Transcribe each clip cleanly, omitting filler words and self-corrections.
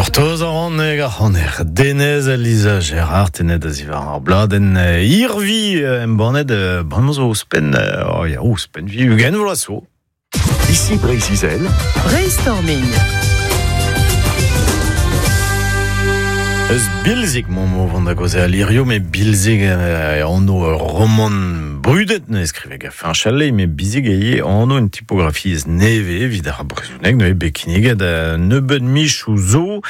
Gortoz a ran hag ar c'haner Denez Lisa Gerard tenet a zivar ar bladenn Irvi embannet bremañ zo ouzhpenn oh ya ouzhpenn vi 20 vloaz zo. Ici Breizh-Izel. Brainstorming. Eus Bilzig m'omp o vont da gaozeal hirio, met Bilzig anv ur romant brudet ne skrive gant Fañch Allais, met Bilzig eo anv un tipografiezh nevez evit ar brezhoneg neuze bet kinniget nebeut michoù zo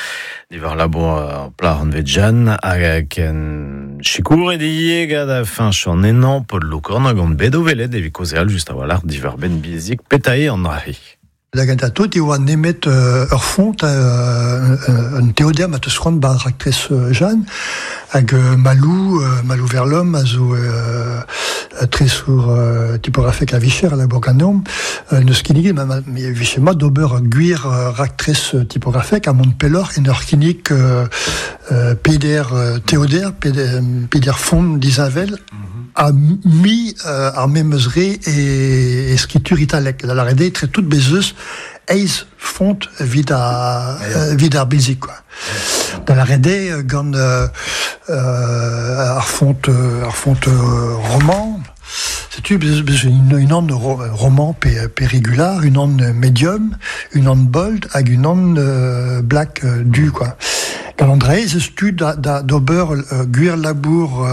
diwar labour ar plac'h anvet Jeanne hag ken sikouret ivez gant Fañch an Henañ, Paul Lokorn hag on bet o welet evit kaozeal just a-walc'h diwar-benn Bilzig petra eo an dra-se. Da gentañ tout e oa nemet ur font, un teoder ma teus c'hoant 'ba raktres Jeanne, hag Malou, Malou Verlhomme a zo tresour tipografek a-vicher a labour ganeomp, neus kinniget ma vije mat d'ober ur gwir raktres tipografek ha mont pelloc'h en ur kinnig peder teoder, peder font disheñvel ha mi ar memes re e skritur italek. Da lâret eo etre tout bez eus eizh font evit ar, evit ar bilzig quoi. Da lâret eo gant ar font ar font roman, setu bez unan roman pe, pe regular, unan medium, unan bold hag unan black du quoi. Gant an dra ez eus tu da, da, d'ober gwir labour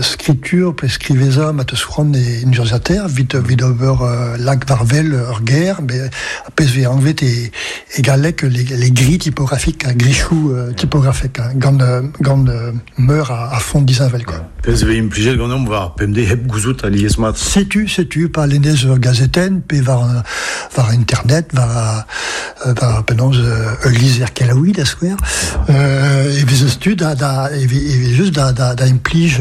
skritur pe skrivezañ ma teus c'hoant e en urzhiataer evit evit ober lak war-wel ur ger, met ar pezh vez anvet e, e galleg les, les grilles typographiques, grilhoù typografek, gant, gant meur a, a font disheñvel quoi. Pezh vez implijet ganeomp war pemdez hep gouzout alies-mat. Setu, setu, pa lennez ur gazetenn pe war, war internet, war war penaos ul lizher kelaouiñ da skouer, e vez eus tu da, da e vez just da, da, da implij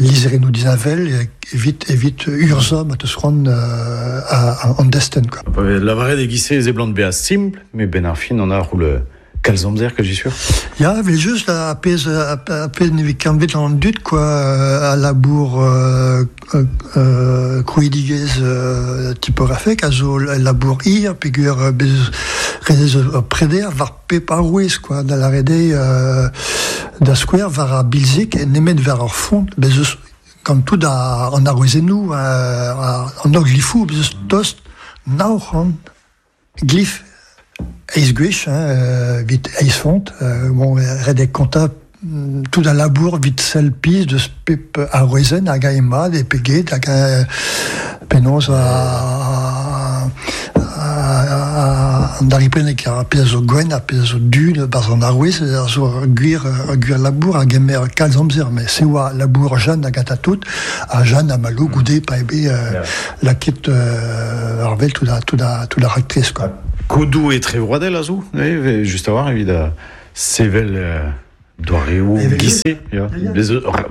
lizherennoù disheñvel evit evit urzhañ ma teus c'hoant an destenn quoi. Pa vez lavaret e-giz-se e seblant bezañ simpl, met benn ar fin an arc'houl kalz amzer que j'y sûr. Ya, evel just, ar pezh ar pezh ne vez ket an dud quoi, a labour krouidigezh tipografek a zo labour hir peogwir bez rez ur preder war pep arouez quoi, da lâret eo da skouer war ar bilzig nemet war ar font bez eus gant tout an arouezennoù an holl glifoù bez eus tost 900 Glif eizh gwech hein, evit eizh font. Bon, ret eo kontañ tout al labour evit sell pizh deus pep arouezenn hag eñ mat e pe get hag penaos an daripenneg ar pezh a zo gwenn ar pezh a zo du barzh an arouez a zo ur gwir ur gwir labour a gemer kalz amzer met se oa labour Jeanne hag tout ha Jeanne ha Malo goude pa eo bet lakaet ar vel tout a, tout a, tout a raktres quoi. Kodoù etrevroadel a zo, just a-walc'h evit sevel doareoù giz-se. Ya.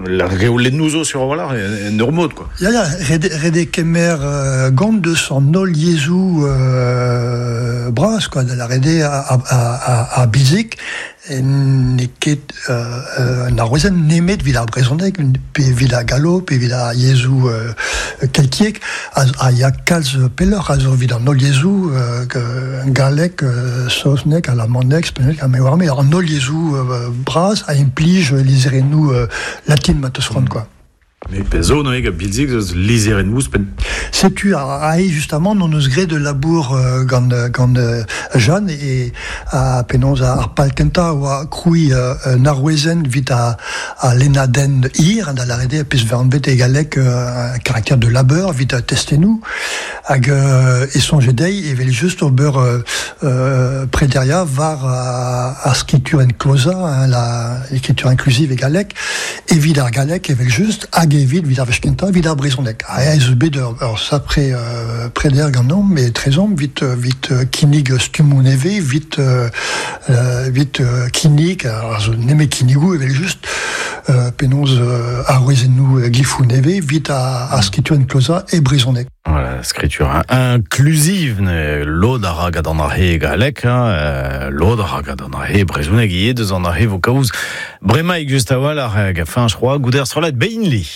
La reolennoù zo sur a-walc'h en ur mod quoi. Ya, ya, ret, ret eo kemer gant deus an holl yezhoù bras quoi, da lâret eo a, a, a bilzig N'eo ket un arouezenn nemet evit ar brezhoneg pe evit ar gallo pe evit ar yezhoù keltiek a ya kalz pelloc'h a zo evit an holl yezhoù galleg, saozneg, alamaneg, spagnolek ha me oar me an holl yezhoù bras a implij lizherennoù latin ma teus c'hoant quoi. Mais pezh zo neuze gant Bilzig eus lizherennoù ouzhpenn. Setu aze justamant hon eus graet ul labour gant gant Jeanne e ha penaos ar pal kentañ a oa krouiñ un arouezenn evit al lennadenn hir da lâret eo pezh 'vez anvet e galleg un caractère de labeur evit testennoù hag e soñje dezhi evel-just ober prederiañ war ar skritur enklozañ l'écriture inclusive e galleg Evit ar galleg evel-just hag evit evit ar wech kentañ evit ar brezhoneg. Ha ez eus bet ur, ur sapre preder ganeomp etrezomp evit evit kinnig stummoù nevez, evit evit kinnig, ar zo nemet kinnigoù evel-just, penaos arouezennoù glifoù nevez evit ar skritur enklozañ e brezhoneg. Voilà, skritur inclusive, ne lod a ra gant an ahe galleg, hein, lod a ra gant an ahe brezhoneg ivez, deus an ahe vo kaoz bremaik just a-walc'h, hag fin, je crois, goude ar strollad Beinli.